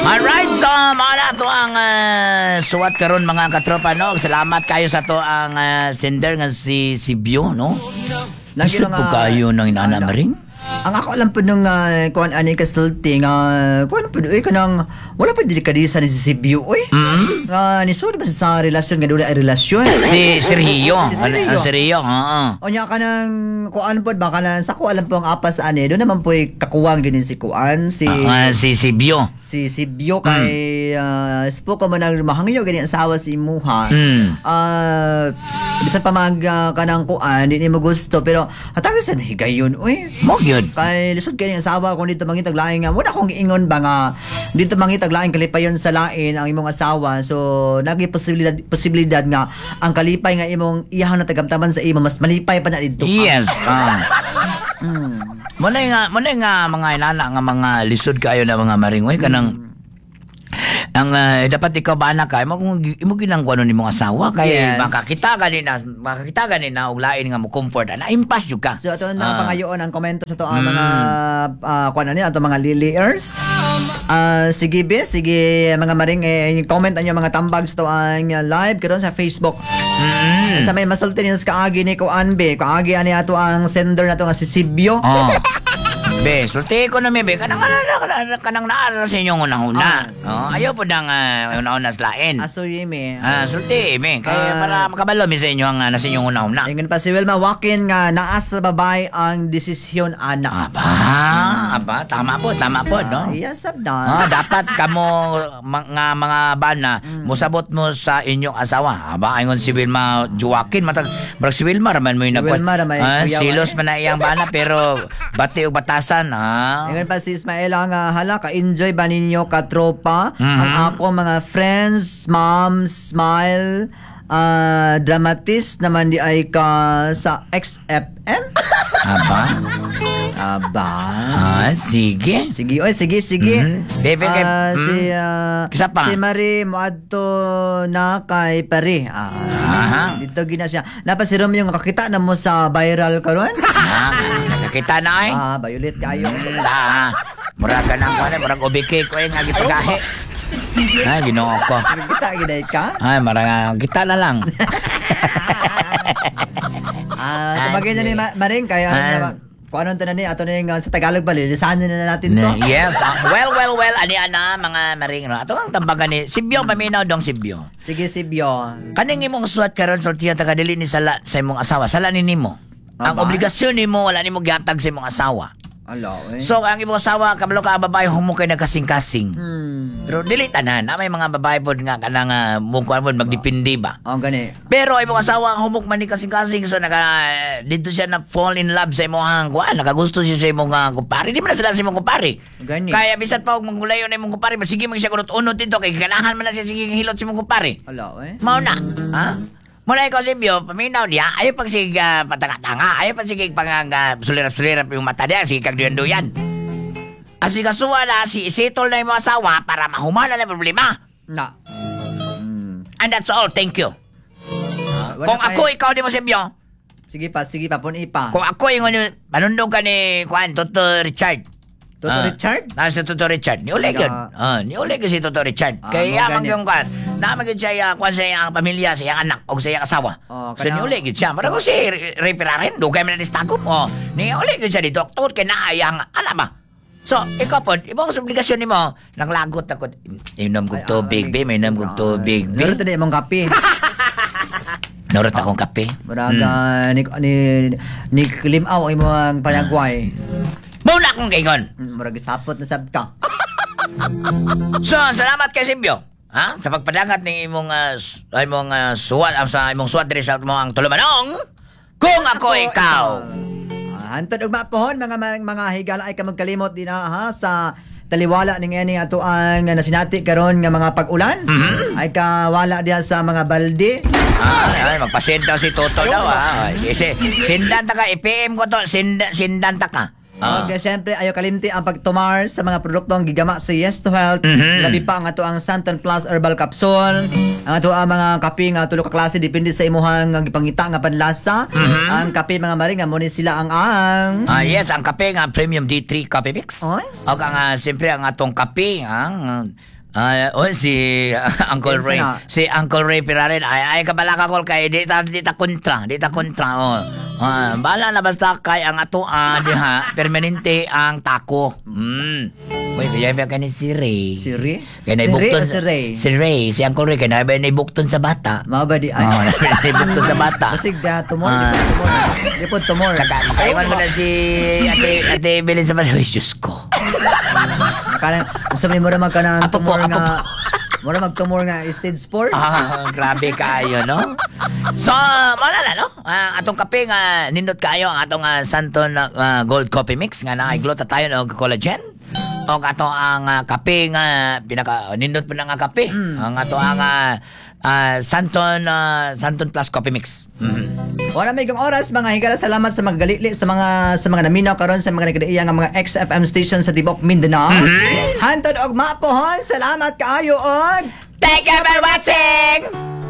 Alright, so mga na to ang suwat karon, mga katropa, no. Salamat kayo sa to ang sender nga si si Bio, no. Lagi Lisod po kayo ng inana, Maring. Ang ako alam po nung kuan ani kasulti nga kuan po oy, kanang wala pa delikadesa ni si Sibyo oy. Nga nisud ba sa relasyon nga dula ay relasyon. Si Sergio. Si Sergio. Ano, Sergio, oo. Unya kanang kuan pod ba, kanang sa ko alam po ang apas ani do naman po'y kakuwang ginin si kuan si Si si Bio. Si Sibyo kay spo ko man ang mahangyo gani ang sawa si imuha. Bisan pa mag kanang kuan di nimo gusto, pero hatag sa higayon oy. Mo gyud. Kay lisod kay ang asawa kung dito mangitag lain nga wala akong giingon ba nga dito mangitag lain kalipayon sa lain ang imong asawa, so nagi posibilidad posibilidad nga ang kalipay nga imong iyahang natagamtaman sa imo mas malipay pa na didto ka. Yes. Mo na nga mga inana nga mga lisod kayo na mga maringoy kanang ang dapat ikaw ba anak ka imo kung imo ginang kuno nimong asawa kay makakita ganina og lain nga mo comfort ana, impas jud ka. So ato na pangayoon ang komento sa to ang mga kuan ani ato mga liliers. Sige be, sige mga maring eh, comment anyo mga tambag sa to ang live karon sa Facebook. Sa may masulti niyo sa kaagi ni kuan be, kaagi ani ato ang sender nato nga si Sibyo. Oh. Be, sulti ko na mi be kanang kanang kanang, kanang naa sa inyong unang-una. Oh, ayaw po nang una-una sa lain. Aso yimi. Sulti mi kay para makabalo mi sa inyo ang nasa inyong unang-una. Ingon pa si Wilma Wakin nga naa sa babae ang desisyon ana. Aba, aba, tama po, no? Yes, sabdan. Dapat kamo mga mga bana musabot mo sa inyong asawa. Aba, ingon si Wilma Joaquin, matag barag si Wilma raman mo yung Si Wilma ra may kuyaw, silos eh. man na iyang bana pero bati og batasan, ha. Ingon pa si Ismael nga hala ka enjoy ba ninyo ka tropa ang ako mga friends, mom, smile, dramatist naman di ay ka sa XFM. Aba. Aba. Sige. Sige, oy, sige, sige. Bebe, Si Isa pa. si Marie moadto na kay Pare. Dito gina siya. Napa si Romeo nga kakita na mo sa viral karon? Nakakita na eh. Violet kayo. Mura ka nang kuan, murag ubike ko eh nga gipagahi. Ay, Ginoo ko. Kita giday ka? Ay, marang kita na lang. Tumagay na ni Maring kaya kung anong tanan ni ato na yung sa Tagalog ba lilisanin na natin to. Yes. Well, well, well, ani ana mga maring no. Ato ang tambagan ni Sibyo paminaw dong Sibyo. Sige Sibyo. Kaning imong suwat karon sultihan ta ka dili ni sala sa imong asawa, sala ni nimo. Ang Aba. obligasyon nimo wala nimo gihatag sa imong asawa. Ala, eh. So ang imong asawa kabalo ka ang babae humo kay nagkasing-kasing. Pero dili tanan, na may mga babae pod nga kanang mo kuan pod magdepende ba. Oh, gani. Pero imong asawa ang humok man ni kasing-kasing, so naka dito siya na fall in love sa imong kuan, nakagusto siya sa imong kumpare. Di man na sila sa imong kumpare. Gani. Kaya bisan pa og manggulayon na imong kumpare, sige man siya kunot-unot dito kay ganahan man na siya sige hilot sa imong kumpare. Ala, eh. Mao na. Ha? Mula ikaw Sibyo, paminaw niya, ayaw pag sige patanga-tanga, ayaw pag sige pang sulirap-sulirap yung mata niya, sige kag duyan-duyan. Asikasuwa na, si isettle na imong asawa para mahumana na yung problema. Na. And that's all, thank you. Wala Kung ako, ikaw di mo Sibyo, sige pa, puni pa. Kung ako yung ano, manundog ka ni Juan, Toto Richard. Toto Richard? Si Toto Richard. Niuli yun. Niuli yun si Toto Richard. Kaya mo man gani. yung Juan, naman yun siya, Juan sa iyang pamilya, sa iyang anak, o sa iyang asawa. Oh, So niuli yun siya. Parang kung si Ray Ferraren, dugay man na ni Stagom. Oh, niuli yun siya dito. Tungod kay naa iyang anak ba? So, ikaw po, ibang sa obligasyon nimo, nang lagot ako, inom kog tubig, be, may inom kog tubig, be. Meron na imong kape. Nurot akong kape. Murag ni ni ni limaw ang imong panagway. Mao na akong kaingon. Murag sapot na sab ka. So, salamat kay Sibyo. Ha? Sa pagpadangat ng imong imong suwat sa imong suwat diri sa imong ang tulumanong. Kung ako ikaw. Hantod ugma pohon mga mga higala ay kamagkalimot din ha sa taliwala ning ini ato ang nasinati karon nga mga pag-ulan. Ay kawala diha sa mga balde. Ay, magpasend daw si Toto daw ha. Si, si, sindan ta ka, i-PM ko to, sindan, sindan ta ka. Okay, siyempre, ayo kalimti ang pagtumar sa mga produktong gigama sa Yes to Health. Labi pa ang ato ang Santan Plus Herbal Capsule. Ang ato ang mga kape nga tulo ka klase, depende sa imuhang gipangita nga panlasa. Ang kape, mga maring, nga mo ni sila ang Ah, yes, ang kape nga Premium D3 Coffee Mix. Oy. Og ang siyempre ang atong kape, ang oh, si Uncle Kinsa Ray. na? Si Uncle Ray Pirarin. Ay, ay kabala ka kol kay di ta kontra, di ta kontra. Oh. Ah, bala na basta kay ang ato diha permanente ang tako. Uy, kaya ba kani si Ray? Si Ray? Kay Si Ray naibukton o si Ray? Si Ray, si Uncle Ray kay naibukton sa bata. Mao ba di ay? Oh, naibukton sa bata. Basig da tumor, Ah. di po tumor. Di po tumor. Makaiwan mo na si Ate Belin sa bata. Uy, Diyos ko. Kanang unsa may mura mag kanang Apo po, tumor apo nga po. mura mag tumor nga stage 4. Ah, grabe kaayo, no? So, mao na, no? Ah, atong kape nga nindot kaayo ang atong Santon Gold Coffee Mix nga naay glutathione og collagen. Og ato ang kape nga pinaka nindot pa na nga kape. Ang ato ang Santon Plus Coffee Mix. Wala may kang oras, mga higala, salamat sa mga galili sa mga naminaw karon, sa mga nagkadaiya nga mga XFM station sa tibok Mindanao. Hantod og mapohon, salamat kaayo og Thank you for watching.